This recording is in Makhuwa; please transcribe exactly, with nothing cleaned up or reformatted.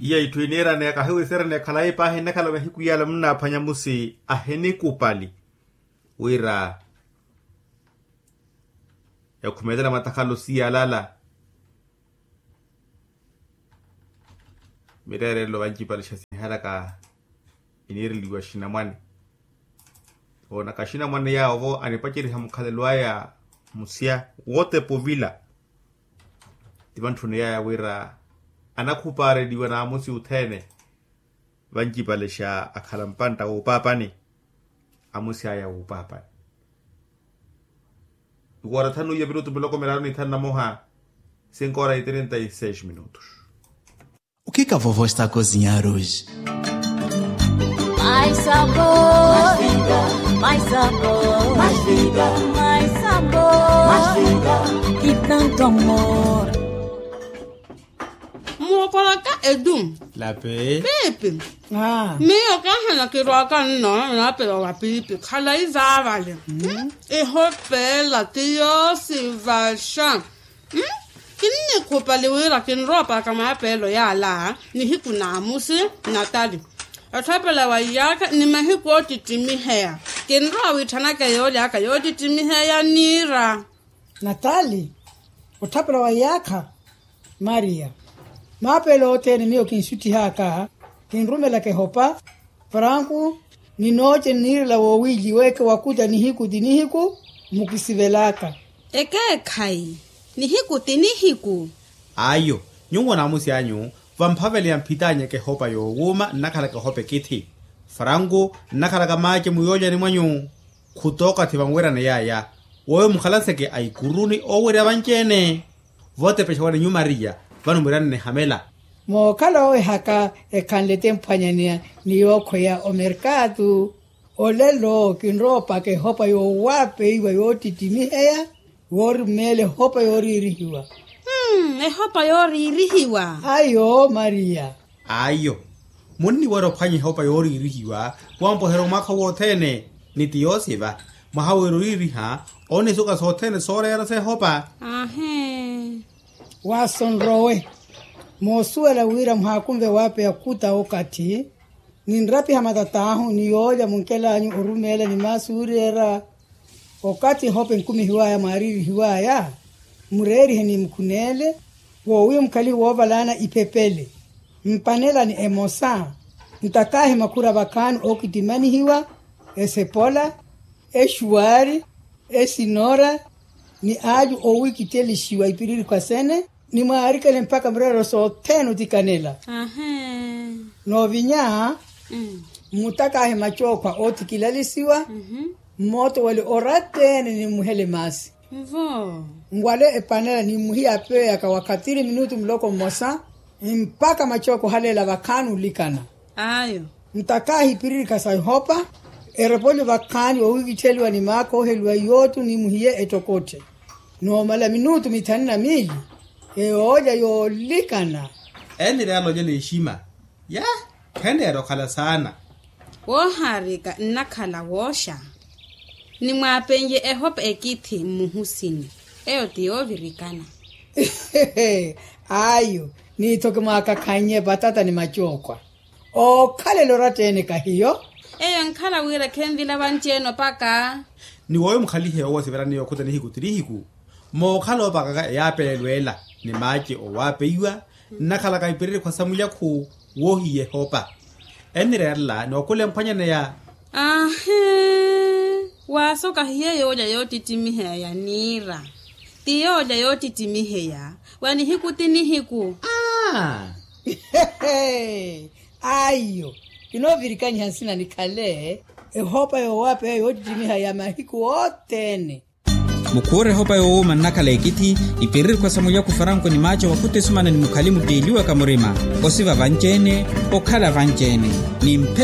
Iya itthu iniiraneya kahiwisereneya khalayi paahi nnakhala mahiku yaala munnaaphwanya musi ahinikupali wira ekhumelela matakhalo siyalala. Mireerelo vancipalixa sinihalaka iniireliwa xinamwane. Oonaka xinamwane yaawo vo anipaceriha mukhalelo aya musya wotepa ovila. Ti vantthuni yaya wira anakhupaareliwa n'amusi othene. Vancipalexa akhala mpantta wuupaapani. Amusi aya wuupaapani. Ikoora thanu iyo minutu miloko miraru ni thanu na moha. Cinco horas e trinta e seis minutos. O que que a vovó está a cozinhar hoje? Mais sabor, mais vida, mais sabor, mais vida, mais sabor, mais vida, e tanto amor. Mulokolaka edu. Lape. Piipi. Miyo kahana kirwaka nno naapela wa piipi khalayi zaavale. Ihopeela ti yoosivaxa. Kinnikhupali wira kinroopaka maapeelo yaala nihiku n'amusi. Natali, otthapela wa iyaakha ni mahiku oottittimiheya. Kinrowa wiitthanaka yoolyaaka yoottittimiheya niira. Natali, otthapela wa iyaakha. Mariya, maapeelo othene miyo kinsuttihaka kinrumelaka ehopa. Franku, ni nooce nniirela woowiliweke wakuta nihiku ti nihiku. Mukisivelaka. Ekeekhayi, nihiku ti nihiku. Ayo, nyuwo n'amusi anyu vamphaveleya mphitanyeke ehopa yoowuuma nnakhalaka ehopa ekithi. Franku, nnakhalaka maace muyoolyani mwanyu. Khutooka ti vanwerane yaya. Woyo mukhalanseke aikuruni oowerya vanci-ene. Vootepexa wale nyu mariya, vano mwirane nihamela. Mookhala owehaka ekhanle temphwanyaneya ni yookhweya omerkatu. Olelo kinroopaka ehopa yoowapeiwa yoottittimiheya. Woorumeela ehopa yooriirihiwa. Ehopa yooriirihiwa. Ayo mariya. Ayo, munniwerya ophwanya ehopa yooriirihiwa wampoherya omwaakha wothene. Ni ti yoosiva mwaha wira oriiriha onisuka sothene sooreera s'ehopa. Ahe. Waaso nrowe. Moosuwela wira muhaakunve waapeya kuta okathi. Ninrapiha matat'ahu ni yoolya munkel'anyu orumeela ni maasi ooreera. Okathi ehopa enkumihiw'aya mwaariirihiw'aya, mureerihe ni mukhuneele woowiya mukhalihe woovalaana iphepele. Mpanelani emosa. Ntakaahi makhura vakhaani ookittimanihiwa, esepola, exuwaari, esinora, ni aacu oowikitelixiwa ipiriirikhwa sene. Ni mwaarikele mpakha mureerelo sothene otikanela. Noovinya, mmutakaahe macookhwa oothikilalisiwa. Mmooto wale oratta-ene ni mmuhele maasi. Nwale epanela ni mmuhiya apeeyaka wa khatiri minutu muloko mmosa. Mpakha macookhwa ohaleela vakhaani olikana. Ayo. Ntakaahi ipiririkha sa ihopa. Erepolyo vakhaani oowikittheliwa ni maakha ooheliwa yootu ni muhiye ettokotthe. Noomala minutu mithanu na miili. Eyoolya yoolikana. Enireera alonya n'exima. Ya, kheneera okhala saana. Woohaarika nnakhala wooxa. Nimwaapenrye ehopa ekithi mmuhusini. Eyo ti yoovirikana. Ayo. N'ittho kimwaakakhannye vatata ni macookhwa. Ookhalela oratta-ene kahiyo. Eyo enkhala wira khenvila vanci-ene opaka. Ni wooyo mukhalihe owo sivelani yookhuta nihiku ti nihiku. Mookhala oopakaka eyaapelelo ela ni maace owaapeiwa nnakhalaka ipiririkhwa sa mulyakhu. Woohiya ehopa enireerela ni okhula emphwanyaneya. Ahe. Waasoka hiyo yoolya yoottittimiheya ya niira. Ti yoolya yoottittimiheya wa nihiku ti nihiku. Aa. Aiyo. Kinoovirikaniha nsina nikhale ehopa yoowapeya yoottittimiha ya mahiku othene. Mukhuure ehopa yoowuuma nnakhala ekithi. Ipiririkwa sa mulyaku faranko ni maaca wakhuta esumana ni mukhali mutteeliwaka murima. Osiva vanci-ene. Okhala vanci-ene. Ni mphe